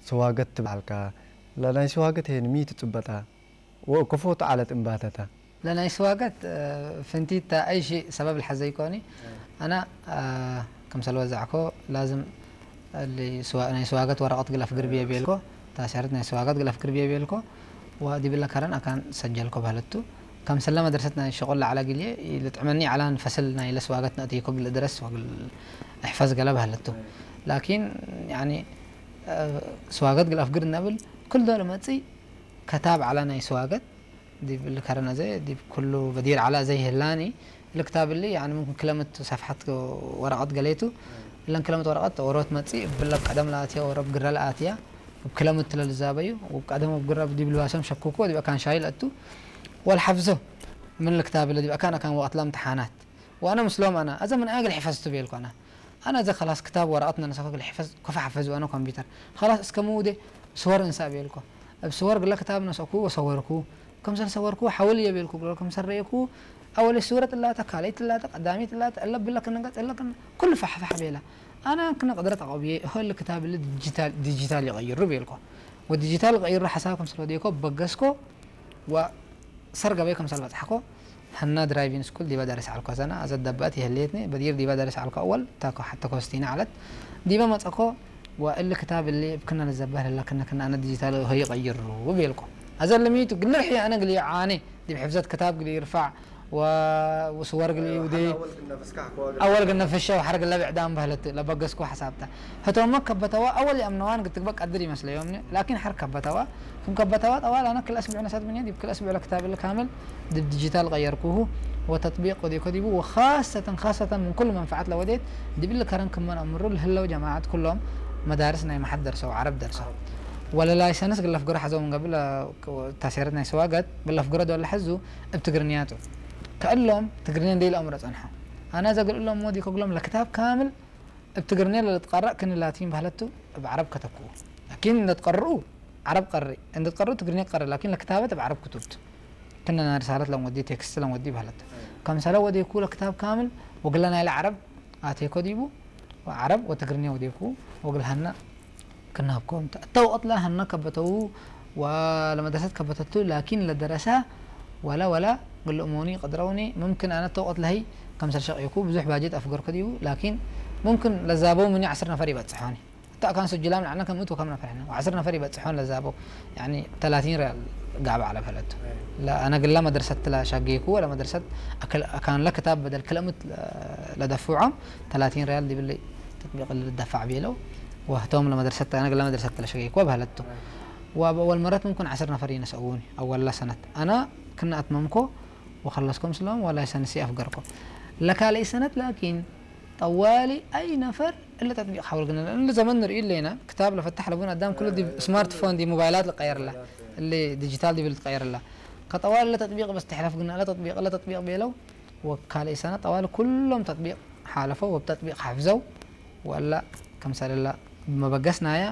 ስዋገት ትበዓልካ ለናይ ስዋገት ሄን ሚ ትጽበጣ ወከፎቱ ዓለት እምባተታ ለናይ ስዋገት ፍንቲታ ኣይሺ ሰበብ ልሐዘ ይኮኒ ኣና ከምሰል ወዛዕኮ ላዝም ናይ ስዋገት ወረቐት ግለፍ ግርብየ ቤልኮ ታሰረት ናይ ስዋገት ግለፍ ግርብየ ቤልኮ ወዲብለ ከረን ኣካን ሰጀልኮ ባህለቱ ከምሰለ መድረሰት ናይ ሸቆል ለዓላ ግልየ ልጥዕመኒ ዓላን ፈስል ናይ ለስዋገት ነእትይኮ ግል ድረስ ወግል እሕፈዝ ገለ ባህለቱ ላኪን ያኒ ስዋገት ግል ኣፍግር ነብል ኩል ዶለ መጽይ ከታብ ዓላ ናይ ስዋገት ዲብ ልከረነ ዘ ዲብ ኩሉ በዲር ዓላ ዘይ ህላኒ ልክታብ ሊ ያኒ ምምክን ክለምት ሰፍሓት ወረቀት ገሌቱ እለን ክለምት ወረቀት ወሮት መጽ ብለብ ቀደም ለኣትያ ወረብ ግረ ለኣትያ ብ ክለምት ለልዛበዩ ብ ቀደም ብ ግረ ዲብ ልባሶም ሸኩኮ ዲብ ኣካን ሻይ ለእቱ ወልሓፍዞ ምን ልክታብ ለ ዲብ ኣካን ኣካን ወቀት ለምትሓናት ወኣነ ምስሎም ኣና ኣዘ ምን ኣግል ሕፈዝቱ ቤልኮ ኣና ኣነ እዚ ከላስ ክታብ ወረቐት ነነሰ ክግል ሕፈዝ ኮፈ ሓፈዝ ኣነ ኮምፒውተር ከላስ እስከ ምውዴ ስወር እንሳ ቤልኮ እብ ስወር ግለ ክታብ ነሰኩ ወሰወርኩ ከምሰል ሰወርኩ ሓወል እየ ቤልኩ ግሎ ከምሰል ረየኩ ኣወለ ስወረት እላተ ካልይት እላተ ቀዳሚት እላተ እለ ብለ ክንገጽ እለ ክን ኩሉ ፋሕፋሕ ቤላ ኣነ ክነ ቅድረት ኣቆብየ ሆል ክታብ ል ዲጂታል ይቀይሩ ቤልኮ ወዲጂታል ቀይሩ ሓሳብ ከምሰል ወዴኮ በገስኮ ወሰር ገበይ ከምሰል በጽሕኮ ሀና ድራይቪንግ ስኩል ዲበ ደርስ ዓልኮ ዘና ኣዘ ደበአት ይህልየትኒ በዲር ዲበ ደርስ ዓልኮ ኣወል ታኮ ሓተ ኮስቲና ዓለት ዲበ መጸኮ ወእሊ ክታብ እሊ እብክና ንዘበህ ለለክነ ክና ኣነ ዲጂታል ሆይ ቀይሩ ቤልኮ ኣዘ ለሚቱ ግልር ሕየ ኣነ ግልየ ዓኔ ዲብ ሕፍዘት ክታብ ግልይ ይርፋዕ ወስወር ግልይ ውዴ ኣወል ግን ነፈሸ ወሐር ግለ ብዕዳም በህለት ለበገስኮ ሐሳብታ ህቶመ ከበተዋ ኣወል የእምነዋን ግትግበ ቀድር ይመስለዮም ላኪን ሐር ከበተዋ ክም ከበተዋ ጠዋል ኣነ ክል ኣስብዕ ነሳት ብንያ ዲብ ክል ኣስብዕ ለክታብ ል ካምል ዲብ ዲጂታል ቀየርኩሁ ወተጥቢቅ ወዲኮ ዲቡ ወኻሰተን ኻሰተን ምን ኩሉ መንፈዓት ለወዴት ዲብ ል ከረን ክመን ኣምሩ ልህለው ጀማዓት ኩሎም መዳርስ ናይ መሓድ ደርሰው ዓረብ ደርሰው ወለ ላይሰንስ ግለፍ ግረ ሐዘው ምን ገብል ታሴረት ናይ ሰዋገት ግለፍ ግረ ዶለ ሐዙ እብ ትግርንያቱ ከእሎም ትግርንያ እንደይ ለኣምሮ ጸንሖ ኣነ ዘግልእሎም ሞዲ ከግሎም ለክታብ ካምል እብ ትግርንያ ለልትቀረእ ክን ላቲን ባህለቱ እብ ዓረብ ከተክኡ ላኪን እንደትቀርኡ ዓረብ ቀሪ እንደትቀርኡ ትግርንያ ቀሪ ላኪን ለክታበት እብ ዓረብ ክቱብት ክነ ናይ ርሳለት ለምወዲ ቴክስት ለምወዲ ባህለት ከምሰለ ወዴኩ ለክታብ ካምል ወግለ ናይለ ዓረብ ኣቴኮ ዲቡ ዓረብ ወትግርንያ ወዴኩ ወግልሃና ክናብኮም እተውቀት ለሀነ ከበተው ወለመድረሰት ከበተቱ ላኪን ለደረሳ ወላ ወላ ግልእሞኒ ቀድረውኒ ምምክን ኣነ ተውቀት ለሀይ ከምሰል ሸቅየኩ ብዙሕ ባጀት ኣፍገርኩ ዲቡ ላኪን ምምክን ለዛበው ምኒ ዓስር ነፈር ይበጽሖኒ እታ ኣካን ስጅላም ንዓና ከም እቱ ከም ነፈር ሕነ ዓስር ነፈር ይበጽሖን ለዛበው ያኒ ተላቲን ሪያል ጋብ ዓለ ፈለቱ ለኣነ ግላ መድረሰት ለሸገይኩ ወለ መድረሰት ኣካን ለክታብ በደል ክለምት ለደፍዖም ተላቲን ሪያል ዲብለይ ተጥቢቅ ልደፋዕ ቤለው ወህቶም ለመድረሰት ኣነ ግላ መድረሰት ለሸገይኩ በህለቱ ወበወል መረት ምምክን ዓስር ነፈር ይነሰእውኒ ኣወላ ሰነት ኣነ ክና ኣትመምኮ ወኸለስኮ ምስሎም ወላይ ሰንሲ ኣፍገርኮ ለካልይ ሰነት ላኪን ጠዋሊ ኣይ ነፈር እለ ተጥቢቅ ሓወል ግነ እለ ዘመን ንርኢ ኣለና ክታብ ለፈታሕ ለቡን ኣዳም ኩሉ ዲብ ስማርትፎን ዲብ ሞባይላት ልቀየርላ እለ ዲጂታል ዲብል ትቀየርላ ከጠዋሊ እለ ተጥቢቅ በስ ትሕለፍ ግነ እለ ተጥቢቅ እለ ተጥቢቅ ቤለው ወካልይ ሰነ ጠዋሊ ኩሎም ተጥቢቅ ሓለፈው ወብ ተጥቢቅ ሓፍዘው ወላ ከምሰለላ ብመበገስናያ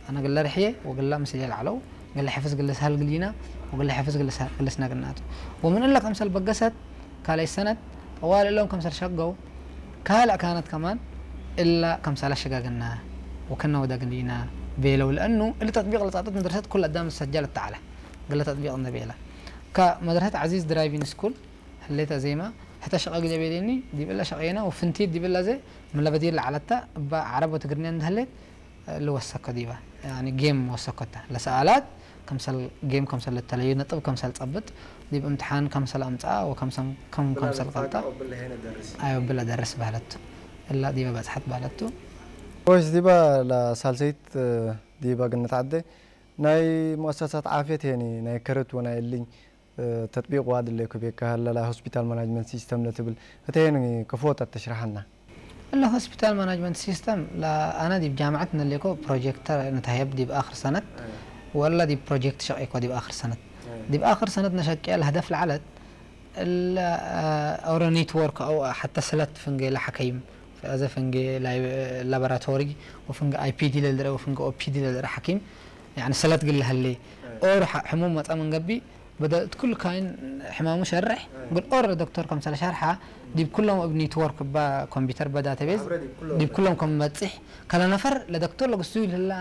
ኣነ ግለ ርሕየ ወግላ ምስል የልዓለው ግለ ሕፍዝ ግለ ስሃል ግሊና ወግለ ሕፍዝ ግለ ስሃል ግለ ስናግናቱ ወምን እለ ከምሰል በገሰት ካልይ ሰነት ጠዋል እሎም ከምሰል ሸገው ካልእ ካነት ከማን እላ ከምሳላ ሸጋግና ወከና ወዳግን ዲና ቤለው ለእኑ እሊ ተጥቢቅ ለጻጠት መድረሰት ኩል ኣዳም ዝሰጃል እተዓላ ግለ ተጥቢቅ እንደ ቤላ ከመድረሰት ዓዚዝ ድራይቪን ስኩል ህሌተ ዜማ ህተ ሸቀ ግለ ቤሌኒ ዲብላ ሸቀየና ወፍንቲት ዲብላ ዘ ምለበዲር ለዓለታ እባ ዓረብ ወትግርኛ እንደህሌት ልወሰኮ ዲባ ያኒ ጌም ወሰኮታ ለሰኣላት ከምሰል ጌም ከምሰል ልተለዩ ነጥብ ከምሰል ጸብጥ ዲብ እምትሓን ከምሰል ኣምጽኣ ወከምሰም ከም ከምሰል ቀልጣ ኣዮ ብለ ደርስ ባህለቱ እላ ዲበ በጽሓት ባህለቱ ወይስ ዲባ ለሳልሰይት ዲባ ግነት ዓደ ናይ ሙአሰሳት ዓፍየት ሄኒ ናይ ከረት ወናይ እልኝ ተጥቢቅ ዋድ ለኩ ቤካ ለላ ሆስፒታል ማናጅመንት ሲስተም ለትብል እተየን ክፎት ኣተሽርሓና። እለ ሆስፒታል ማናጅመንት ሲስተም ለኣነ ዲብ ጃምዓት ነሌኮ ፕሮጀክተር ንታየብ ዲብ ኣክር ሰነት ወላ ዲብ ፕሮጀክት ሸቂኮ ዲብ ኣክር ሰነት ዲብ ኣክር ሰነት ነሸቅያ ለህደፍ ለዓለት እለ ኦረ ኔትወርክ ኣው ሓተ ስለት ፍንጌ ለሓከይም ኣዘ ፍንጌ ላቦራቶሪ ወፍንጌ ኣይፒዲ ለልረ ወፍንጌ ኦፒዲ ለልረ ሓኪም ያኒ ሰለት ግለ ሀሌ ኦር ሕሙም መጻ መንገቢ በደ እት ኩሉ ካይን ሕማሙ ሸርሕ ግን ኦር ዶክተር ከምሰለ ሸርሓ ዲብ ኩሎም እብ ኔትወርክ እባ ኮምፒውተር በ ዳታቤዝ ዲብ ኩሎም ከም መጽሕ ከለ ነፈር ለዶክተር ለግሱ ይልህላ